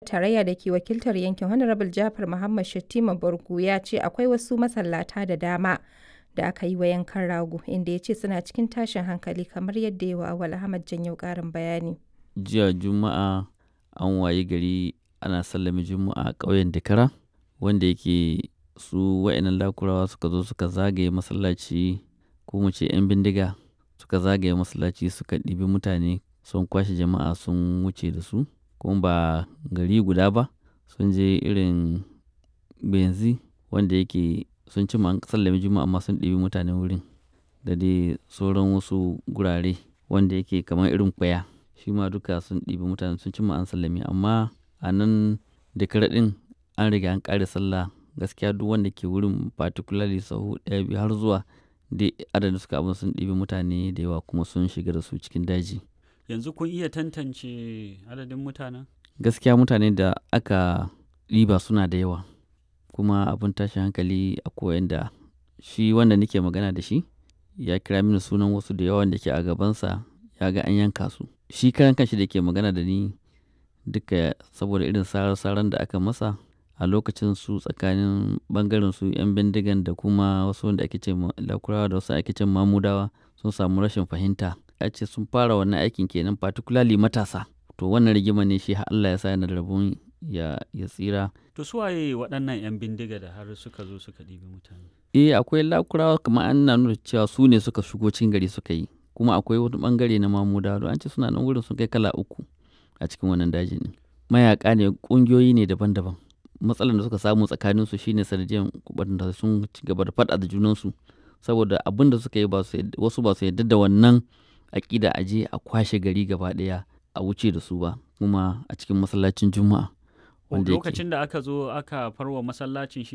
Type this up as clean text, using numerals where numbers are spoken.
Tarayya da ke wakiltar yankin, Hon. Jafar Mohammed Shettima Bargu ya ce akwai wasu masallata da dama da aka yi wa yankan rago, inda ya ce suna cikin tashin hankali kamar yadda ya yi wa Auwal Ahmad Janyau ƙarin bayani. Jiya Juma'a an wayi gari ana sallame Juma'a a ƙauyen Dakara wanda yake su wa'innan Lakurawa suka zo suka zagaye masallaci, ko mu ce 'yan bindiga suka zagaye masallaci, suka ɗibi mutane, sun kwashe jama'a sun wuce da su. Kuma ba gari guda ba, sun je irin Benzi wanda yake sun cimma an sallame Juma'a amma sun ɗibi mutane wurin da dai sauran wasu gurare wanda yake kamar irin Kwaya. Shi ma duka sun ɗibi mutane, sun cimma an sallame, amma a nan Dakara ɗin an riga an ƙare sallah. Gaskiya duk wanda ke wurin, particularly sahu ɗaya, biyu har zuwa dai adadin suka abun, sun ɗibi mutane da yawa kuma sun shiga da su cikin daji. Yanzu kun iya tantance adadin mutanen? Gaskiya mutane da aka ɗiba suna da yawa, kuma abun tashin hankali akwai wanda shi wanda nake magana da shi ya kira mini sunan wasu da yawa wanda ke a gabansa ya ga an yanka su. Shi karan kanshi da ke magana da ni duka, saboda irin sarar-saran da aka masa a lokacin, su tsakanin ɓangaren su 'yan bindigan da kuma wasu wanda ake ce ma Lakurawa da wasu ake ce Mamudawa sun samu rashin fahimta. A ce sun fara wannan aikin kenan, particularly matasa. To wannan rigima ne shi har Allah ya sa yana da rabon ya tsira. To su waye waɗannan 'yan bindiga da har suka zo suka ɗibi mutane? Eh, akwai Lakurawa, kamar ana nuna cewa su ne suka shigo cikin gari suka yi. Kuma akwai wani ɓangare na Mamudawa, don an ce suna nan wurin sun kai kala uku a cikin wannan dajin ɗin. Mayaƙa ne, ƙungiyoyi ne daban-daban. Matsalar da suka samu tsakaninsu shine sanadiyan waɗanda sun ci gaba da faɗa da junansu, saboda abin da suka yi ba su, wasu ba su yarda da wannan aƙida a je a kwashe gari gaba ɗaya a wuce da su ba, kuma a cikin masallacin Juma'a wanda yake. Lokacin da aka zo aka farwa masallacin shi